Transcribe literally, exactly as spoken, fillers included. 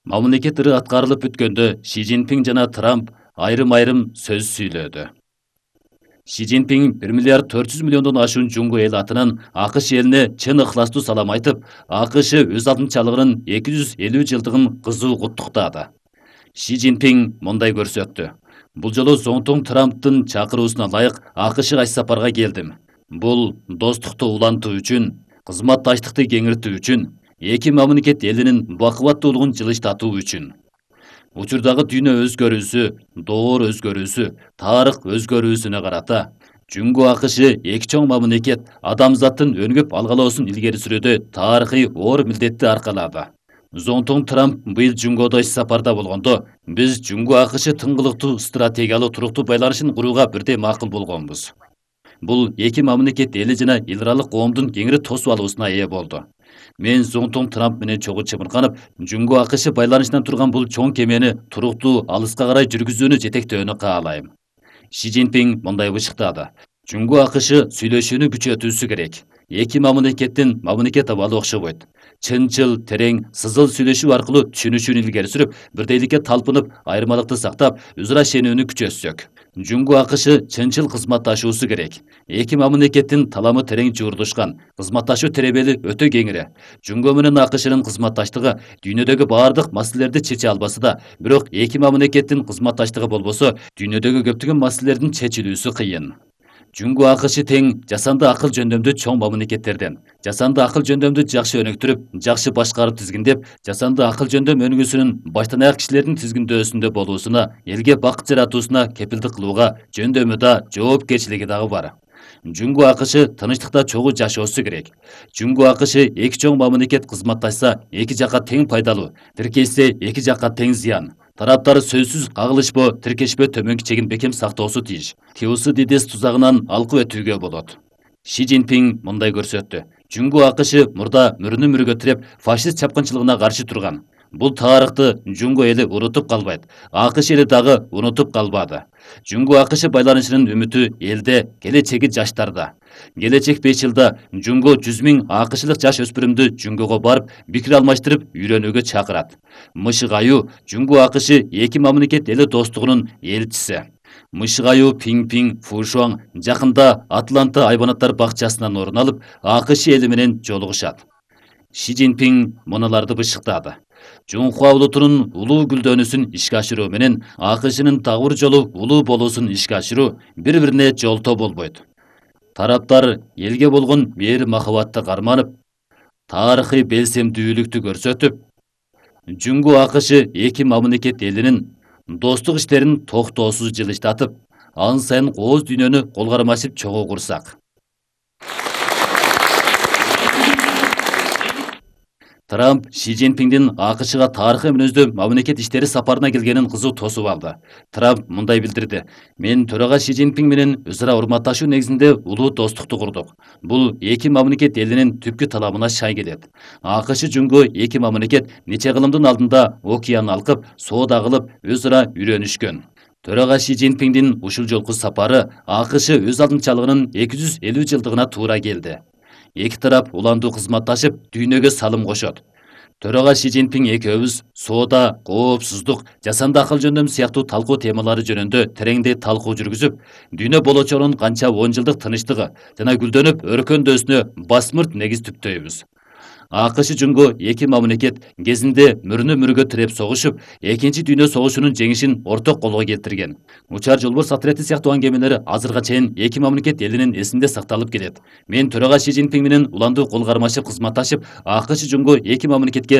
Мамлекет ыры аткарылып бүткөндө Ши Цзиньпин жана Трамп айрым-айрым сөз сүйлөдү. Ши Цзиньпин бир миллиард төрт жүз миллиондон ашуун жунго эл атынан АКШ элине чын ыхластуу салам айтып, АКШ өз алдынчалыгынын эки жүз элүү жылдыгын кызуу куттуктады. Ши Цзиньпин мындай көрсөттү. Бул жолу Зоңтоң Трамптын чакыруусуна ылайык АКШга иш сапарга келдим. Бул достукту улантуу үчүн, кызматташтыкты кеңиртүү үчүн, эки мамлекет элинин бакубаттуулугун жылыштатуу үчүн. Учурдагы дүйнө өзгөрүүсү, доор өзгөрүүсү, тарых өзгөрүүсүнө карата Жунго АКШ эки чоң мамлекет адамзаттын өнүгүп алгалоосун илгери сүрүүдө тарыхый оор милдетти аркалады. Зоңтоң Трамп быйыл Жунгодо иш сапарда болгондо, биз Жунго АКШ тыңгылыктуу стратегиялык туруктуу байланышын курууга бирдей макул болгонбуз. Бул эки мамлекет эли жана эл аралык коомдун кеңири тосуп алуусуна ээ болду. Мен Зоңтоң Трамп менен чогуу чымырканып, Жунго АКШ байланышынан турган бул чоң кемени туруктуу алыска карай жүргүзүүнү жетектөөнү каалайм. Ши Цзиньпин мындай бышыктады. Жунго АКШ сүйлөшүүнү күчөтүүсү керек. Эки мамлекеттин мамлекет абалы окшобойт. Чынчыл, терең, сызыл сүйлөшүү аркылуу түшүнүшүүнү илгери сүрүп, бирдейликке талпынып, айырмалыкты сактап, өз ара ишенүүнү күчөтсөк. Жунго АКШ чынчыл кызматташуусу керек. Эки мамлекеттин таламы терең жуурдушкан, кызматташуу теребели өтө кеңири. Жунго менен АКШнын кызматташтыгы дүйнөдөгү бардык маселелерди чече албаса да, бирок эки мамлекеттин кызматташтыгы болбосо, дүйнөдөгү көптөгөн маселелердин чечилүүсү кыйын. Жунго АКШ тең жасанды акыл жөндөмдүү чоң мамлекеттерден. Жасанды акыл жөндөмдү жакшы өнүктүрүп, жакшы башкарып тизгиндеп, жасанды акыл жөндөм өнүгүүсүнүн баштан аяк кишилердин тизгиндөөсүндө болуусуна, элге бакыт жаратуусуна кепилдик кылууга жөндөмү да, жоопкерчилиги дагы бар. Жунго АКШ тынычтыкта чогуу жашоосу керек. Жунго АКШ эки чоң мамлекет кызматташса, эки жакка тең пайдалуу, тиркешсе, эки жакка тең зыян. Тараптар сөзсүз кагылышпоо, тиркешпөө төмөнкү чегин бекем сактоосу тийиш. Тиусы дидес тузагынан алкып өтүүгө болот. Ши Цзиньпин мындай көрсөттү. Жунго АКШ мурда мөрүнү мөргө тиреп, фашист чапкынчылыгына каршы турган. Бул тарыхты Жунго эли унутуп калбайт. АКШ эли дагы унутуп калбады. Жунго АКШ байланышынын үмүтү элде, келечеги жаштарда. Келечек беш жылда Жунго жүз миң АКШлык жаш өспүрүмдү Жунгого барып, пикир алмаштырып, үйрөнүүгө чакырат. Мышык аю Жунго АКШ эки мамлекет эли достугунун элчиси. Мышык аю Пиң-Пиң Фушуаң жакында Атланта айбанаттар бакчасынан орун алып, АКШ эли менен жолугушат. Ши Цзиньпин мунуларды бышыктады. Жунхуа улутунун улуу гүлдөнүүсүн ишке ашыруу менен АКШнын дагы бир жолу улуу болуусун ишке ашыруу бири-бирине жолтоо болбойт. Тараптар элге болгон мээрим махабатты карманып, тарыхый белсемдүүлүктү көрсөтүп, Жунго АКШ эки мамлекет элинин достук иштерин токтоосуз жылыштатып, ан сайын кооз дүйнөнү кол кармашып чогуу курсак. Трамп Ши Цзиньпиндин АКШга тарыхый мүнөздүү мамлекет иштери сапарына келгенин кызуу тосуп алды. Трамп мындай билдирди. Мен төрага Ши Цзиньпин менен өз ара урматташуу негизинде улуу достукту курдук. Бул эки мамлекет элинин түпкү таламына шай келет. АКШ Жунго эки мамлекет нече кылымдын алдында океан алкып, соода кылып, өз ара үйрөнүшкөн. Төрага Ши Цзиньпиндин ушул жолку сапары АКШ өз алдынчалыгынын эки жүз элүү жылдыгына туура келди. Эки тарап уландуу кызматташып, дүйнөгө салым кошот. Төрага Ши Цзиньпин экөөбүз соода, коопсуздук, жасанды акыл жөндөм сыяктуу талкуу темалары жөнүндө тереңдей талкуу жүргүзүп, дүйнө болочогунун канча он жылдык тынычтыгы жана гүлдөнүп өркөндөөсүнө басмырт негиз түптөйбүз. АКШ Жунго эки мамлекет кезинде мөрүнө мөргө тиреп согушуп, экинчи дүйнө согушунун жеңишин орток колго келтирген. Учар жолборс отрети сыяктуу аңгемелер азырга чейин эки мамлекет элинин эсинде сакталып келет. Мен төрага Ши Цзиньпин менен уландуу кол кармашып кызматташып, АКШ Жунго эки мамлекетке